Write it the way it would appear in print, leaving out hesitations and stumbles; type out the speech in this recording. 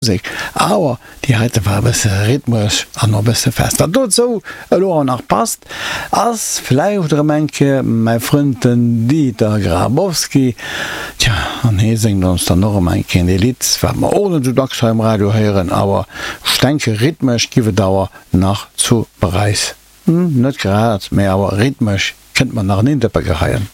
Musek, awer déi heite war e bësse rhythmesch an och e bësse fest. Wat dozou elo awer nach passt, ass vläicht erëm eng Kéier mäi Frënd den Dieter Grabowski. Tja, an hee séngt ons dann och erëm eng Kéier ee Lidd, wat mer och net esou dacks hei um Radio héieren, awer ech denke rhythmesch giff et awer nach zu Paräis, hm, net grad, mä awer rhythmesch kënnt mer nach en Indëppe geheien.